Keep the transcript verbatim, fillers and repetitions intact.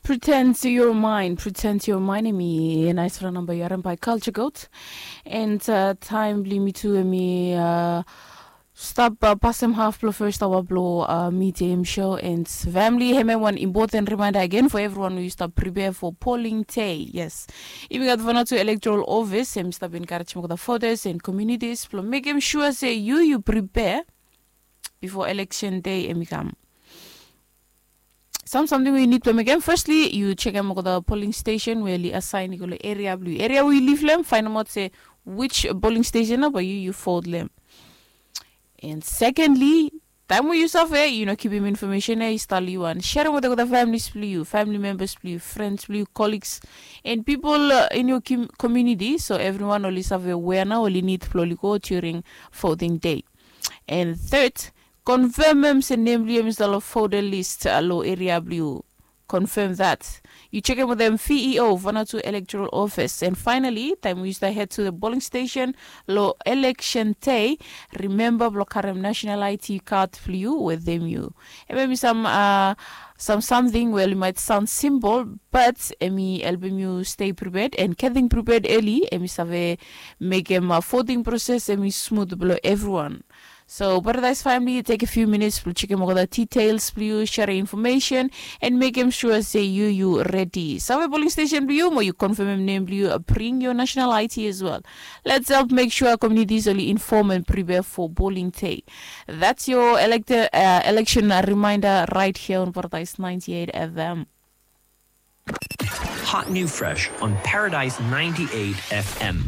Pretend to your mind, pretend to your mind, emi naisfala namba yu harim by Culture Goat. And uh, taem blong yumi tu emi uh, stap uh, pasem haf blong first awa blong uh, medium show and family. Hemia wan important reminder again for everyone we stap prepare for polling day. Yes, yumi gat Vanuatu Electoral Office, emi stap encourage mokoda voters and communities blong mekem sure se yu yu prepare before election day emi kam. Sam samting we yu nid blong mekem. Firstly, yu chekem olgeta polling station we oli assign i go long area blong yu. Area we yu liv long hem, fainemaot se which polling station nao bae yu yu vote long hem. And secondly, taem we yu save yu no kipim information ya i stap long yu wan, sharem wetem olgeta families blong yu, family members blong yu, friends blong yu, colleagues and people uh, in your community, so everyone oli save wea nao oli nid blong oli go during voting day. And third, confirmem se nem blong yu hem i stap long voter list long area blong yu. Confirm that. Yu chekem wetem V E O, Vanuatu Electoral Office. And finally, taem we yu stap head to the polling station long election day, remember blong karem national I D card blong yu wetem yu. Hemia hem i sam uh, sam samting we oli maet saon simple, but emi helpem yu stay prepared, and getting prepared early emi save mekem uh, voting process emi smooth blong everyone. So Paradise family, take a few minutes blong chekem olgeta details blong yu, share information and mekem sure se yu yu ready. Save polling station blong yu, mo yu confirmem nem blong yu, uh, bring your national I D as well. Let's help make sure communities oli inform and prepare for polling day. That's your elected uh, election reminder right here on Paradise ninety-eight F M. Hot new fresh on Paradise ninety-eight F M.